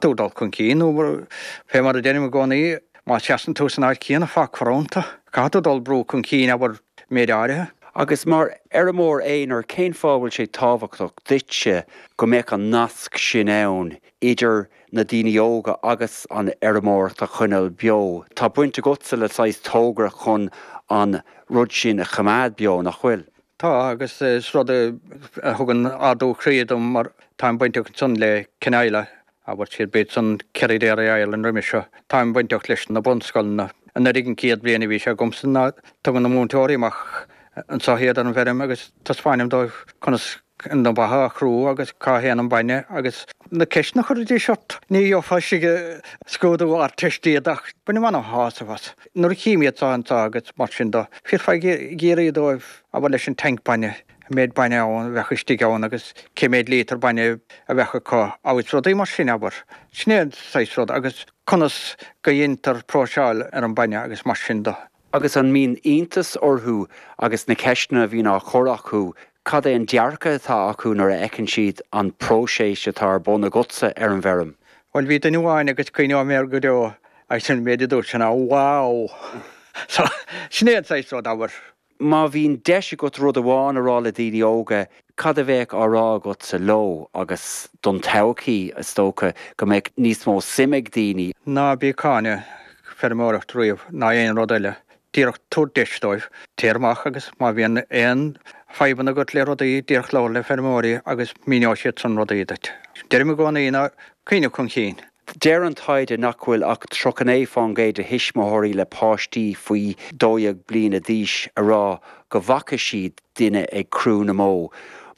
Tú dul chun cinn nó fé mar a deirim i gcónaí, má sheasann tú san áit chéanna fágfar iontu. Caithfidh tú dul brú chun cinn, abair, méid áirithe. Agus mar fheirmeoir aonair, cén fáth a bhfuil sé tábhachtach duitse go mbeadh an nasc sin ann idir na daoine óga agus an fheirmeoireacht a choinneáil beo? Tá baint agatsa le saghas togra chun an rud sin a choimeád beo, nach bhfuil? Tá, agus is rud a thugann ardú croí dom mar táim bainteach ansan le CINISLA, abair siad b'iad san Kerry Dairy Ireland roimis seo. Táim bainteach leis na bunscoileanna. Anuraidh an chéad bhliain a bhí sé agamsa ná tugann na múinteoirí amach anso iad ar an bhfeirm agus taispeáinim dóibh conas na ba a chrú agus cá théann an bainne agus na ceisteanna a chuiridís ort. Ní gheofá istigh i scrúdú Ardteiste iad ach bainim ana-shásamh as. Nuair a chím iad seo anso agus mar sin do, bhífeá ag iarraidh dóibh abair leis an tanc bainne, an méid bainne ann a bheadh istigh ann agus cé méid líotar bainne a bheadh acu agus rudaí mar sin, abair. Sin é an saghas rud agus conas go dheintear próiseáil ar an bainne agus mar sin do. Agus an mbíonn iontas orthu agus na ceisteanna a bhíonn á chur acu, cad é an dearcadh atá acu nuair a fheiceann siad an próiseas atá ar bun agatsa ar an bhfeirm? Bhuel, bhí duine amháin agus cuimhneoidh mé air go deo agus an méid a dúirt sé ná 'Wow! So, sin é an saghas rud, abair. Má bhíonn deis agat rud amháin a rá le daoine óga, cad a bheadh á rá agatsa leo agus don todhchaí, is dócha, go mbeadh níos mó suim ag daoine? Ná bí ag cáineadh feirmeoireacht riamh ná aon rud eile. Díreach tabhair deis dóibh. Téir amach agus má bhíonn aon fadhbanna agat le rudaí, díreach labhair le feirmeoirí agus míneoidh siad san rudaí duit. Deirim i gcónaí ná cuimhneamh chun cinn. Deir an taighde nach bhfuil ach 39% de thuismitheoirí le páistí faoi 12 bliana d'aois a rá go bhfaca siad duine ag crú na mbó.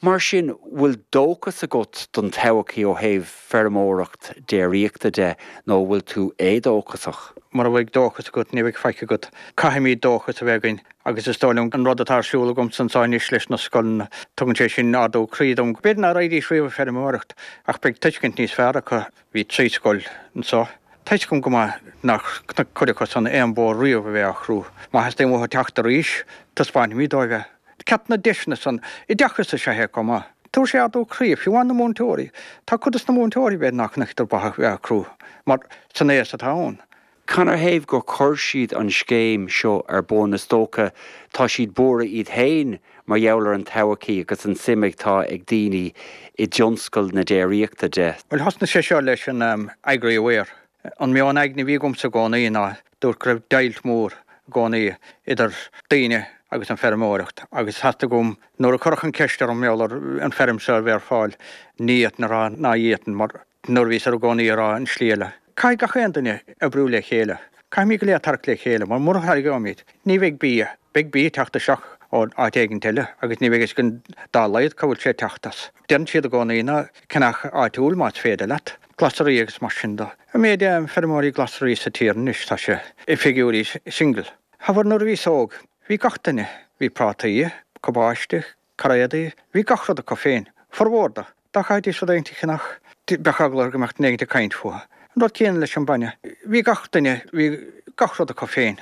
Mar sin, bhfuil dóchas agat don todhchaí ó thaobh feirmeoireacht déiríochta de nó bhfuil tú éadóchasach? Mura bhfuil dóchas agat, ní bheidh faic agat. Caithfimid dóchas a bheith againn agus is dóigh liom an rud atá ar siúl agamsa anseo anois leis na scoileanna, tugann sé sin ardú croí dom. B'fhéidir nach raghaidís riamh ag feirmeoireacht ach beidh tuiscint níos fearr acu. Bhí 3 scoil anseo. Tá fhios agam go maith nár chonaic cuid acu san aon bhó riamh a bheith á chrú. Má theastaíonn uathu teacht arís, taispeánfaimid dóibh é. Ceart na deiseanna san oideachas is ea é chomh maith. Tabharfaidh sé ardú croí, fiú amháin na múinteoirí. Tá cuid des na múinteoirí b'fhéidir nár chonaiceadar ba a bheith á crú, mar san aos atá ann. Canathaobh gur chuir siad an scéim seo ar bun? Is dócha tá siad buartha iad féin mar gheall ar an todhchaí agus an suim atá ag daoine i dtionscal na déiríochta de. Bhuel, thosnaigh sé seo leis an Agri Aware. An meon aigne a bhí agamsa i gcónaí ná dúirt go raibh deighilt mhór i gcónaí idir daoine agus an feirmeoireacht agus theastaigh uaim nuair a cuireadh an ceist orm mar gheall ar an feirm seo a bheith ar fáil ní fhéadfainn a rá ná d'fhéadfainn mar Nuair a bhíos i gcónaí ag rá an slí eile. Caithfidh gach aon duine oibriú le chéile. Caithfimid go léir tarrac le chéile mar mura tharraingeoimid, ní bheidh bia. Beidh bia ag teacht isteach ó áit éigint eile agus ní bheidh fhios againn dá laghad cá bhfuil sé ag teacht as. Deireann siad i gcónaí ná ceannach áitiúil más féidir leat. Glasraí agus mar sin de. An méid feirmeoirí glasraí sa tír anois tá sé i figiúirí single. Abair nuair a bhíos óg, bhí gach duine, bhí prátaí, cabáiste, cairéadaí, bhí gach rud acu féin, formhór de. Dá gcaithfidís rud éigint a cheannach, bheadh eagla orthu go mbeadh duine éigint ag caint fúthu. An rud céanna leis an bainne. Bhí gach duine, bhí gach rud acu féin.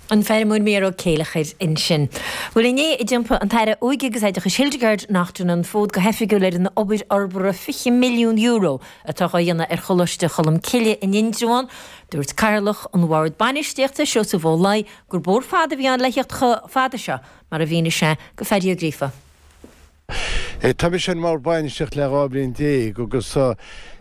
An feirmeoir Micheál Ó Céileachair ansin. Bhuel inné a d'iompaigh an tAire Óige agus Oideachais Hildegarde Naughton an fód go hoifigiúil ar an obair fhorbartha €20 milliún atá á dhéanamh ar Choláiste Cholmcille in Indreabhán. Dúirt Cathaoirleach an Bhoird Bainistíochta, Seosamh Ó Laoi, gur bóthar fada a bhí ann le theacht chomh fada seo, mar a mhínigh sé go Phaddy Ó Gríofa. Tá mise ar an mBord Bainistíochta le 12 bhliain agus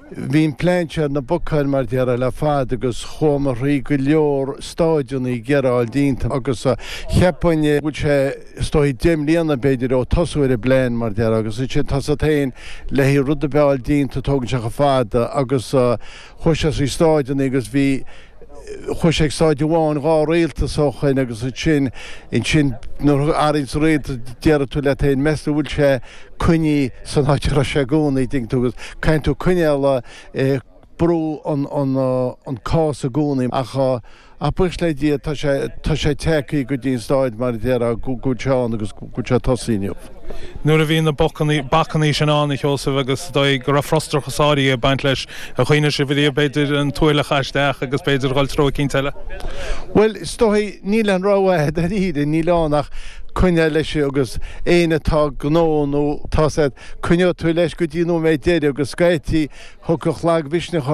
bhí an plean seo ar na bacáin mar déarfá le fada agus chuamar thrí go leor stáideanna ag iarraidh a fháil déanta agus cheapfainn go bhfuil sé is dóigh 10 mbliana b'fhéidir ó tosú ar an bplean mar déarfá agus ansin tá a fhios agat féin le haghaidh rud ar bith a fháil déanta tógann sé chomh fada agus chuaigh sé trí stáideanna agus bhí Chuaigh sé ag stáid amháin, 2 rialtas ó shoin agus ansin, ansin nuair a athraíonns rialtas déarfaidh tú leat féin, meas tú an bhfuil sé coinnithe san áit a raibh sé i gcónaí, dtuigeann tú, agus caithfidh tú coinneáil ag brú an, an, an cás i gcónaí ach. Ach buíochas le Dia tá sé, tá sé tagtha go dtí an stáid mar a déarfá go bhfuil sé ann agus go bhfuil sé tosaithe inniu. Nuair a bhí na bacannaí, bacannaí sin ann, a Sheosaimh, agus is dóigh go raibh frustrachas áirithe ag baint leis, ar chuimhnigh sibh ariamh b'fhéidir an tuaille a chaith isteach agus b'fhéidir a dhul treo eicínt eile? Bhuel, is dóigh, níl aon rogha agat dáiríre, níl ann ach coinneáil leis agus éinne atá gnó nó tá said, coinneoidh tú leis go dtí an nóiméad deiridh agus scaití thiocfadh lagmhisneach.